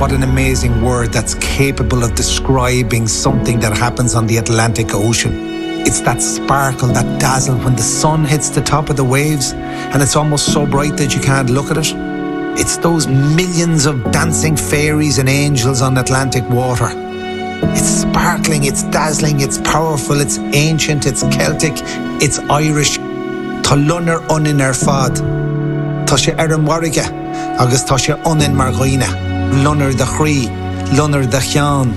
What an amazing word that's capable of describing something that happens on the Atlantic Ocean. It's that sparkle, that dazzle when the sun hits the top of the waves and it's almost so bright that you can't look at it. It's those millions of dancing fairies and angels on Atlantic water. It's sparkling, it's dazzling, it's powerful, it's ancient, it's Celtic, it's Irish. Tá loinnir ionainn ar fad. Tá sé ar an bhfarraige agus tá sé ionainn mar dhaoine. Loinnir do chroí, loinnir do cheann,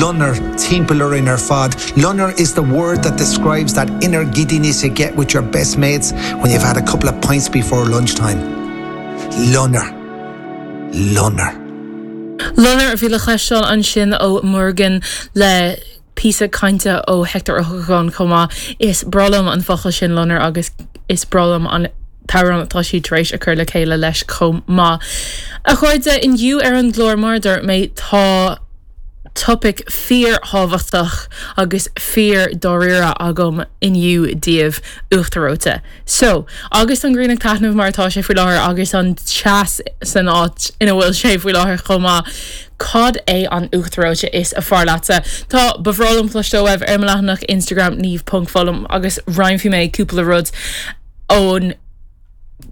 loinnir timpeall orainn ar fad. Loinnir is the word that describes that inner giddiness you get with your best mates when you've had a couple of pints before lunchtime. Loinnir. Loinnir. Loinnir a bhí le cloisteáil ansin ó Muirgen le píosa cainte ó Hector Ó hEochagáin chomh maith. Is breá liom an focal sin loinnir agus is breá liom an t-amhrán atá siad tar éis a chur le chéile leis chomh maith. A chairde, inniu ar an gclár, mar a dúirt mé, tá topaic fíor-thábhachtach agus fíor-dáiríre agam inniu daoibh, uachtar reoite. So, agus an ghrian ag taitneamh mar atá sé faoi láthair agus an teas san áit ina bhfuil sé faoi láthair chomh maith, cad é an uachtar reoite is fearr leatsa? Tá, ba bhreá liom cloisteáil uaibh ar mo leathanach Instagram niamh.fulham agus roinnfidh mé cúpla rud ón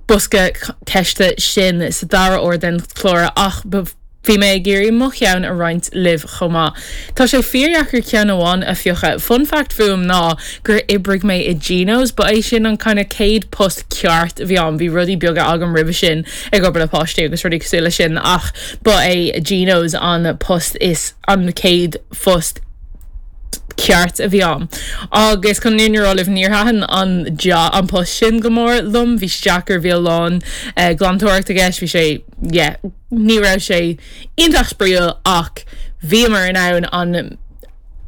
bosca ceiste sin sa dara huair den chlár ach ba Bhí mé ag iarraidh mo cheann a roinnt libh chomh maith. Tá sé fíordheacair ceann amháin a phiocadh. Fun fact fúm ná gur oibrigh mé i Gino's, ba é sin an kind of céad post ceart a bhí agam, bhí rudaí beaga agam roimhe sin ag obair le páistí agus rudaí cosúil leis sin ach ba é Gino's an post is an chéad phost ceart a bhí agam. Agus chun an fhírinne a rá libh níor thaitin an an post sin go mór liom, bhí sé deacair, bhí a lán glantóireacht i gceist, bhí sé yeah. Ní raibh sé iontach spraíúil ach bhíomar in ann an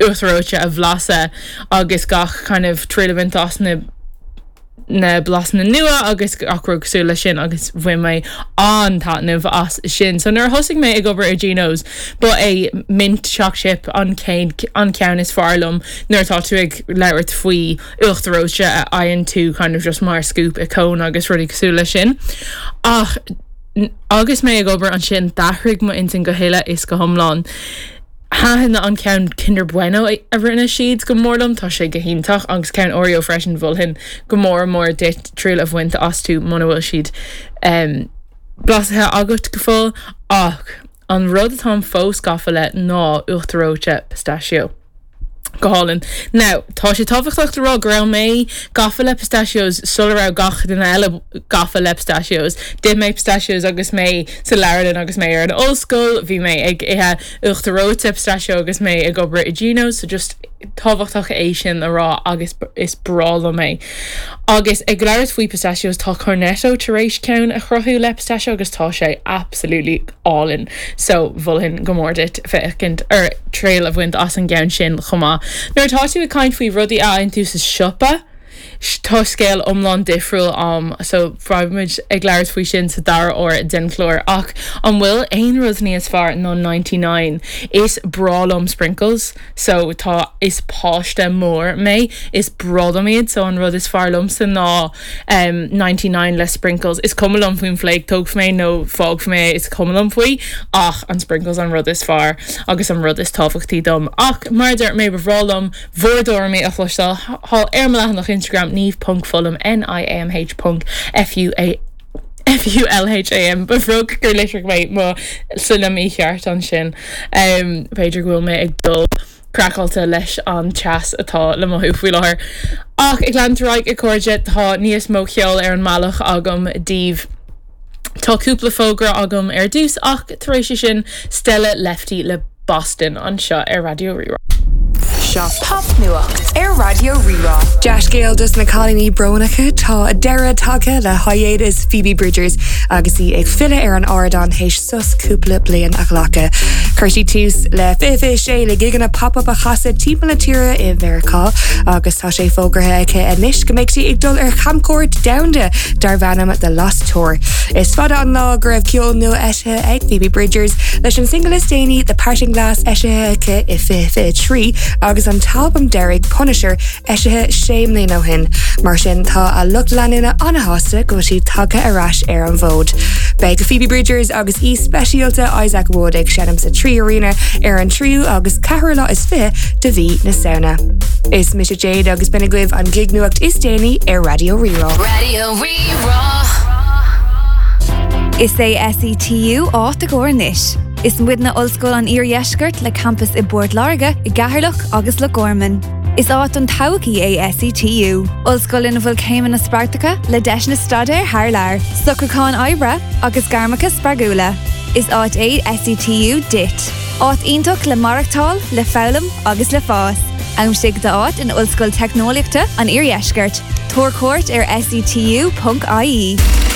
uachtar reoite a bhlaiseadh agus gach kind of triail a bhaint as na na blasanna nua agus gach rud cosúil leis sin agus bhain mé an-taitneamh as sin. So nuair a thosaigh mé ag obair i Gino's ba é mint choc chip an chéad an ceann is fearr liom nuair atá tú ag labhairt faoi uachtar reoite a fhaigheann tú kind of just mar scoop i cone agus rudaí cosúil leis sin. Ach Agus mé ag obair ansin, d'athraigh m'intinn go huile is go hiomlán. Thaitin an ceann Kinder Bueno a rinne siad go mór liom, tá sé go hiontach, agus ceann Oreo freisin, mholfainn go mór mór duit triail a bhaint astu muna bhfuil siad blaiseadh agat go fóill. Ach an rud atáim fós gafa le ná uachtar reoite pistachio. Go hálainn. Now, tá sé tábhachtach le rá go raibh mé gafa le pistachios sula raibh gach duine eile gafa le pistachios. D'ith mé pistachios agus mé sa leabharlann agus mé ar an ollscoil, bhí mé ag ithe uachtar reoite pistachio agus mé ag obair i Gino's, so just tábhachtach é sin a rá agus is breá liom é. Agus ag labhairt faoi pistachios, tá Cornetto tar éis ceann a chruthú le pistachio agus tá sé absolutely álainn so mholfainn go mór duit féachaint ar triail a bhaint as an gceann sin chomh maith. Nuair atá tú ag caint faoi rudaí a fhaigheann tú sa siopa, tá scéal iomlán difriúil a'm so beidh muid ag labhairt faoi sin sa dara huair den chlár. Ach an bhfuil aon rud níos fearr ná 99? Is breá liom sprinkles so tá is páiste mór mé, is breá liom iad so an rud is fearr liomsa ná 99 le sprinkles. Is cuma liom faoin flake, tógfaidh mé nó fágfaidh mé é, is cuma liom faoi, ach an sprinkles an rud is fearr agus an rud is tábhachtaí dom. Ach mar a dúirt mé, ba bhreá liom bhur dtuairimí a chloisteáil thall ar mo leathanach Instagram, niamh ponc fulham, N-I-A-M-H ponc F-U-A F-U-L-H-A-M. Ba bheag gur litrigh mé mo shloinne mícheart ansin. B'fhéidir go bhfuil mé ag dul. craiceáilte leis an teas atá le mothú faoi láthair. Ach ag leanúint ar aghaidh, a chairde, tá níos mó ceoil ar an mbealach agam daoibh. Tá cúpla fógra agam ar dtús ach tar éis sin, Stella Lefty le Boston anseo ar Raidió Rí-Rá. Seo Popnuacht ar Raidió Rí-Rá. Dea-scéal dos na cailíní brónacha, tá deireadh tagtha le hiatus Phoebe Bridgers agus í ag filleadh ar an ardán théis sos cúpla bliain a ghlacadh. Chuir sí tús le 2026 le gigeanna pop-up a chasadh timpeall na tíre i Mheiriceá agus tá sé fógartha aici anois go mbeidh sí ag dul ar chamchuairt domhanda darb ainm The Lost Tour. Is fada an lá go raibh ceol nua eisithe ag Phoebe Bridgers leis an single is déanaí The Parting Glass eisithe aici i 2023 agus. agus an t-albam deiridh Punisher eisithe sé mbliana ó shin. Mar sin tá a lucht leanúna an-shásta go bhfuil siad tagtha ar ais ar an bhfód. Beidh Phoebe Bridgers agus aoi speisialta Isaac Wood ag seinm sa 3Arena ar an tríú agus ceathrú lá is 20 de mhí na Samhna. Is mise Jade agus b'in agaibh an gig-nuacht is déanaí ar Raidió Rí-Rá. Raidió Rí-Rá. Is é SETU áit i gcóir anois. Is muidne Ollscoil an Iardheiscirt le campas i bPort Láirge, i gCeatharlach agus Loch Garman. Is áit don todhchaí é SETU, ollscoil ina bhfuil céimeanna spreagthacha le deiseanna staidéir thar lear, socrúcháin oibre agus gairmeacha spreagúla. Is áit é SETU duit. Áit iontach le maireachtáil, le foghlaim agus le fás. Aimsigh d'áit in Ollscoil Teicneolaíochta an Iardheiscirt. Tabhair cuairt ar setu.ie.